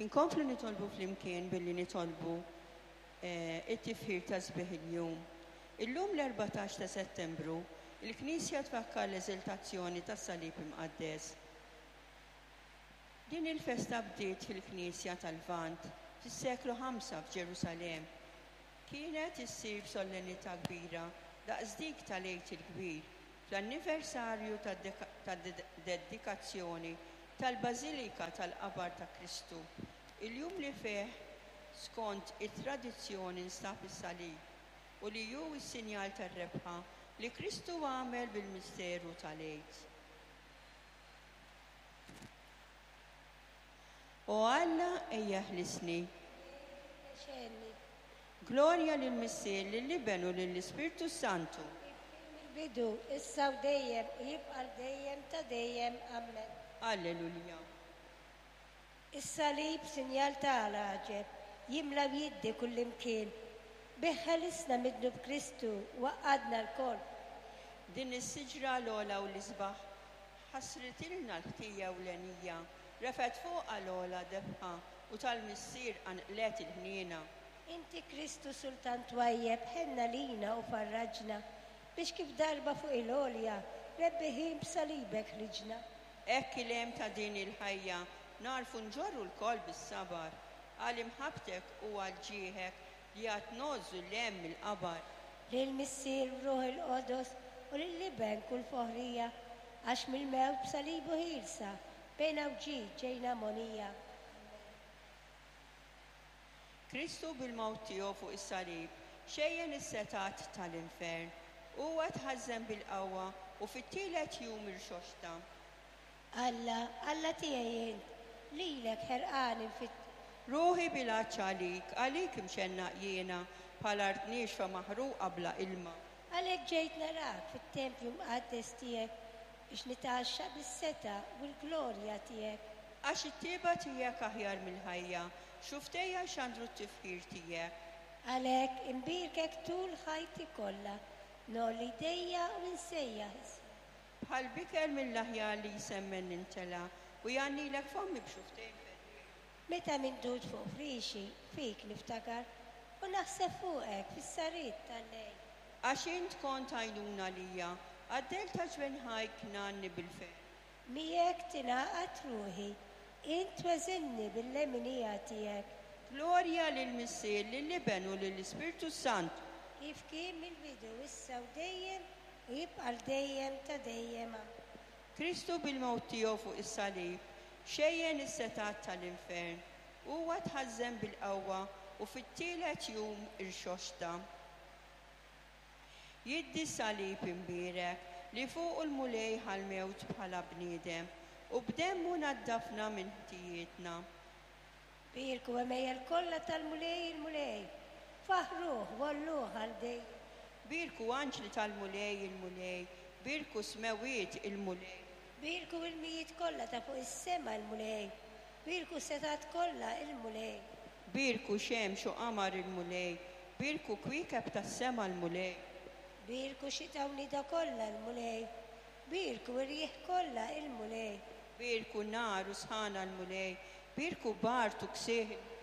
Inkomplu nitolbu flimkien billi nitolbu it-tifħir ta' sbieħ il-jum. Illum l-14 ta' Settembru, il-Knisja tfakkar l-Eżiltazzjoni tas-Salib Imqaddes. Din il-festa bdiet fil-Knisja tal-Lvant fis-seklu ħamsa f'Ġerusalemm. Kienet issir b'sollennità kbira daqs dik tal-Għid il-Kbir, fl-anniversarju tad-dedikazzjoni tal-Bażilika tal-Qabar ta' Kristu, il-jum li fih skont it-tradizzjoni nstab is-salib u li hu s-sinjal tar-rebħa li Kristu għamel bil-misteru tal-Għid. O Alla, ejja ħlisni. Xenni. Glorja lill-Missier, lill-Iben u lill-Ispirtu s-Santu. Kif kien mill-bidu, issa u dejjem, u jibqa' għal dejjem ta' dejjem. Ammen. Alleluja. Is-salib sinjal ta' l-għaġeb, jimla u jiddi kullimkien. Bih ħelisna mid-dnub Kristu u għaqqadna lkoll. Din is-siġra l-ogħla u l-isbaħ Ħassritilna l-ħtija ewlenija, refgħet fuqha l-ogħla debħa u tal-Missier qanqlet il-ħniena. Inti Kristu Sultan twajjeb ħenn għalina u farraġna, biex kif darba fuq il-għolja rebbiħin b'salibek ħriġna. Hekk il-hemm ta' din il-ħajja nagħrfu nġorru lkoll bis-sabar, għal imħabbtek u għal ġieħek li għad ngħożżu l-hemm mill-qabar. Lill-Missier b'Ruħ il-Qodos u lill-Iben kull foħrija, għax mill-mewt b'salibu ħielsa bejna u ġid ġejna mogħnija. Ammen. Kristu bil-mewt tiegħu fuq is-salib xejjen is-setgħat tal-infern. Huwa tħażżen bil-qawwa u fit-tielet jum irxoxta. Alla, Alla tiegħi int, lilek ħerqan infittxek. Ruħi bil-għatx għalik, għalik imxennaq jiena, bħal art niexfa maħruqa bla ilma. Għalhekk ġejt narak fit-tempju mqaddes tiegħek, biex nitgħaxxaq bis-setgħa u l-glorja tiegħek. Għax it-tjieba tiegħek aħjar mill-ħajja, xufftejja jxandru t-tifħir tiegħek. Għalhekk inbierkek tul ħajti kollha, ngħolli jdejja u nsejjaħ ismek. Bħal biker mill-aħjar li jsemmen nimtela, u jgħannilek fommi b'xufftejn ferrieħa. Meta mindud fuq friexi, fik niftakar, u naħseb fuqek fis-sahriet tal-lejl. Għax int kont għajnuna għalija, għad-dell ta' ġwenħajk ngħanni bil-ferħ. Miegħek tingħaqad ruħi, int tweżinni bil-leminija tiegħek. Glorja lill-Missier, lill-Iben u lill-Ispirtu s-Santu. Kif kien mill-bidu, issa u dejjem, U jibqa' għal dejjem ta' dejjem. Amen. Kristu bil-mewt tiegħu fuq is-salib xejjen is-setgħat tal-infern. Huwa tħażżen bil-qawwa u fit-tielet jum irxoxta. Jiddi s-salib imbierek li fuqu l-Mulej ħa l-mewt bħala bniedem u b'demmu naddafna minn ħtijietna. Bierku għemejjel kollha tal-Mulej il-Mulej, faħħruh u għolluh għal dejjem. Bierku anġli tal-Mulej il-Mulej, bierku smewwiet il-Mulej. Bierku ilmijiet kollha ta' fuq is-sema il-Mulej, bierku setgħat kollha il-Mulej. Bierku xemx u qamar il-Mulej, bierku kwiekeb tas-sema l-Mulej. Bierku xita u nida kollha l-Mulej, bierku irjieħ kollha il-Mulej. Bierku nar u sħana l-Mulej, bierku bard u ksieħ il-Mulej.